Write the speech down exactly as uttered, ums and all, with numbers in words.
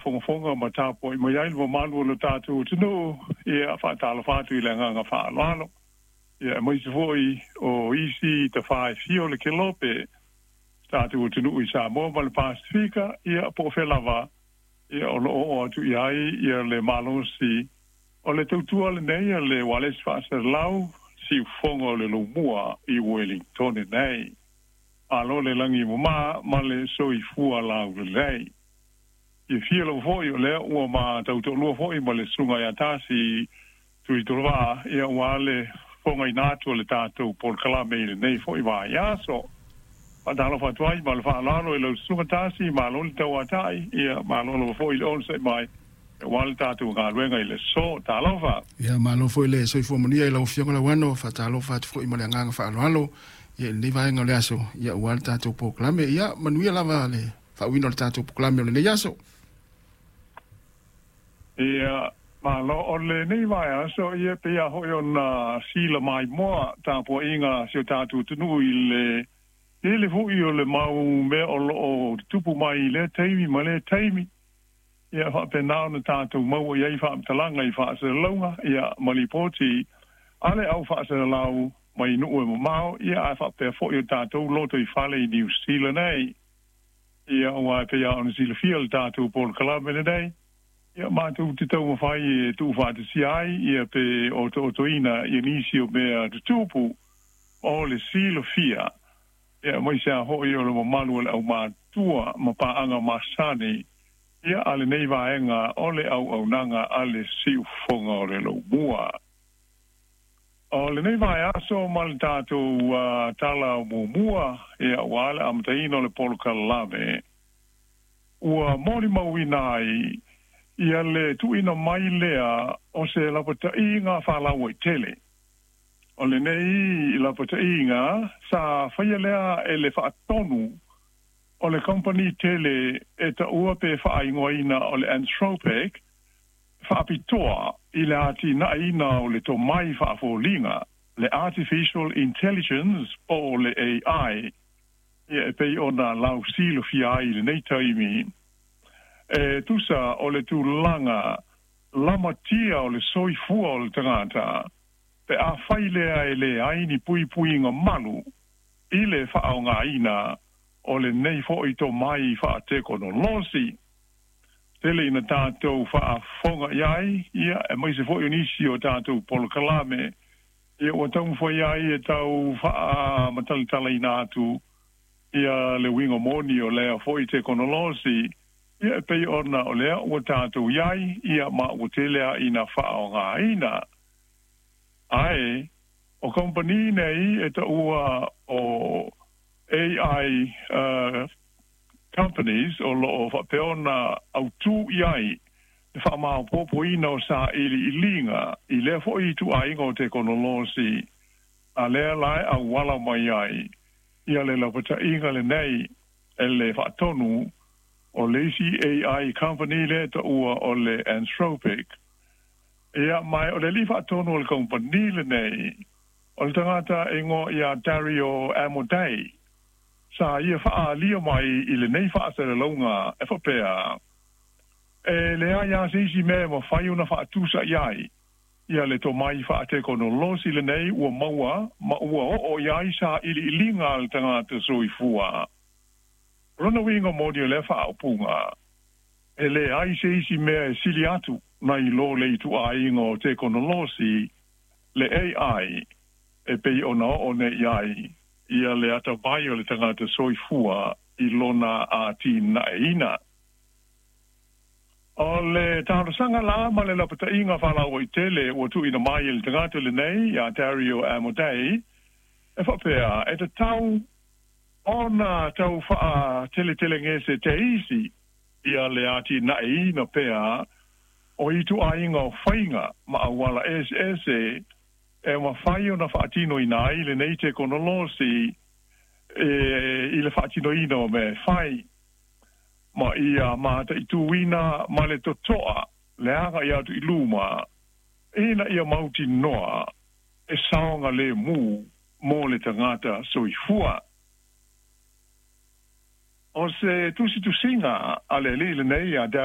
faafogafoga ma tapua'i mai ai le mamalu o le tatou atunuu. Ia faatalofa atu i le agaga faaaloalo. Ia aemaise fo'i o isi tafā e fia o le kelope tatou atunuu i Samoa ma le Pasefika, ia po o fea lava ia o loo oo atu i ai ia le malosi o le tautua lenei a le ualesi faasalalau siufofoga o le Lomua i Uelintone nei. Malo le lagi mamā ma le soifua laulelei. Fiafia lava fo'i o lea ua matau toalua fo'i ma le susuga ia Tasi Tuitolovaa, ia ua le fofogaina atu o le tatou polokalame i lenei fo'i vaiaso. Faatalofa atu ai ma le faaaloalo i lau susuga Tasi, malo le tauata'i, ia malo lava fo'i le onosai mai aua le tatou galuega i le aso. Talofa. Ia malo foi le soifua manuia i lau Afioga Lauano, faatalofa atu foi ma le agaga faaaloalo ia i lenei vaega o le aso, ia aua le tatou polokalame. Ia manuia lava le faauiina o le tatou polokalame o lenei aso. Ia malo o lenei vaiaso, ia pei lava fo'i ona sila maimoa tapua'iga a si o tatou atunuu i le tele fo'i o le mau mea o loo tutupu mai i lea taimi ma lea taimi. Ia faapena ona tatou maua i ai faamatalaga i faasalalauga ia ma lipoti a le au faasalalau mai nuu e mamao, ia ae faapea fo'i o tatou loto i fale i Niu Sila nei. Ia aua e pei lava ona silafia le tatou polokalame lenei, ia matou te taumafai e tuufaatasia ai ia pe otootoina ia nisi o mea tutupu o le silafia, ia aemaise lava fo'i o le mamalu o le aumātua ma paaga masani ia a lenei vaega o le auaunaga a le siufofoga o le Lomua. O lenei vaiaso ma le tatou uh, tala muamua, ia ua le amataina o le polokalame ua molimauina ai ia le tuuina mai lea o se lapata'iga faalauaitele. O lenei lapata'iga sa faia lea e le faatonu o le kamupani tele e taua pe faaigoaina o le Anthropic, faapitoa i le atinaeina o le tomai faafoliga, le artificial intelligence po o le A I, ia e pei ona lausilafia ai i lenei taimi. E tusa o le tulaga lamatia o le soifua o le tagata pe afai lea e leai ni puipuiga malu i le faaaogāina o lenei fo'i tomai faatekonolosi. Tele ina tatou faafofoga i ai, ia aemaise fo'i o nisi o tatou polokalame, ia ua taumafai ai e tau faamatalatalaina atu ia le uiga moni o lea fo'i tekonolosi, ia e pei ona o lea ua tatou i ai, ia ma ua tele a ina faaaogāina. Ae o kamupani nei e taua o A I uh, companies o loo faapea ona autū i ai le faamaopoopoina o sailiiliga i lea fo'i ituaiga o tekonolosi a lea la e auala mai ai ia le lapata'iga lenei e le faatonu o le isi A I company lea taua o le Anthropic. Ia mai o le alii faatonu o le kamupani lenei o le tagata e igoa ia Dario Amodei, sa ia faaalia mai i lenei faasalalauga e faapea, e leai a se isi mea e mafai ona faatusa i ai ia le tomai faatekonolosi lenei ua maua ma ua oo i ai sailiiliga a le tagata soifua. O lona uiga moni o lea faaupuga, e leai se isi mea e sili atu nai lo le ituaiga o tekonolosi le A I e pei ona oo nei i ai ia le atamai o le tagata soifua i lona atinaeina. O le talosaga la ma le lapata'iga faalauaitele ua tuuina mai e le tagata lenei ia Dario Amodei e faapea, e tatau ona tau faateletelegese teisi ia le atinaeina pea o ituaiga o faiga ma auala eseese e mafai ona faatinoina ai lenei tekonolosi e i le faatinoina o mea e fai ma ia mataituina ma le totoa le aga'i atu i luma ina ia mautinoa e saogalēmū mo le tagata soifua. O se tusitusiga a le alii lenei a Dario